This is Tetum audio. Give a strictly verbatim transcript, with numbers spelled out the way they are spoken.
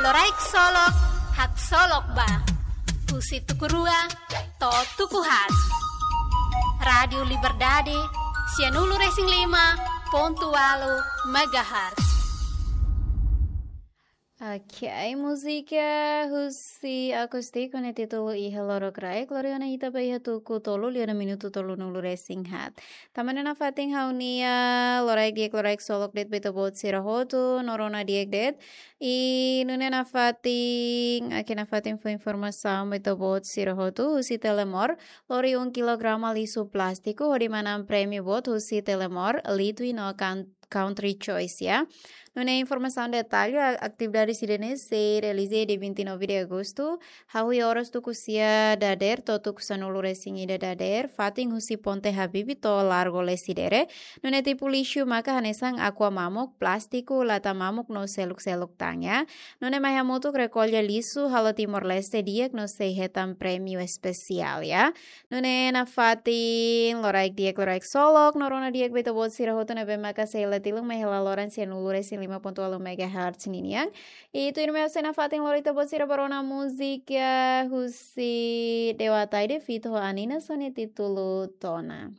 Loraik Solok, haksolok ba. Husi tuku rua to'o tuku haat. Rádiu Liberdade, sianulu-resin-lima pontu ualu megahertz. Ok, múzika husi Acústico ne'e títulu Iha Lorokraik, lori ona ita ba iha tuku tolu liu ona minutu tolunulu-resin-haat. Tanba ne'e nafatin ha'u-nia loraik di'ak, loraik solok de'it ba ita-boot sira hotu, no rona di'ak de'it. I nune'e nafatin, ok, nafatin fó informasaun ba ita-boot sira hotu, husi Telemor, lori um kilograma lixu plástiku, hodi manán prémiu boot husi Telemor, Litwi no Coun-, Country Choice, ya. Nune'e informasaun detalle, a-, atividade sira-ne'e sei realiza dia vinte e nove de agosto, hahú oras tuku sia dadeer to'o tuku sanulu-resin-ida dadeer, fatin husi Ponte Habibie to'o Largo Lecidere. Nune'e tipu lixu maka hanesan aqua mamuk, plástiku, lata mamuk no seluk-seluk tan, ya. Nune'e mai hamutuk rekolla lixu halo Timor-Leste di'ak no sei hetan prémiu espesiál, ya. Nune'e nafatin loraik di'ak, loraik solok, no rona di'ak ba ita-boot sira hotu ne'ebé maka sei hela tilun mai hela loron sianulu-resin-lima pontu ualu megahertz ninian. I tuirmai ha'u sei nafatin lori ita-boot sira ba rona múzika husi Dewa Ataide feat ho Anina, só ne'e títulu Tona.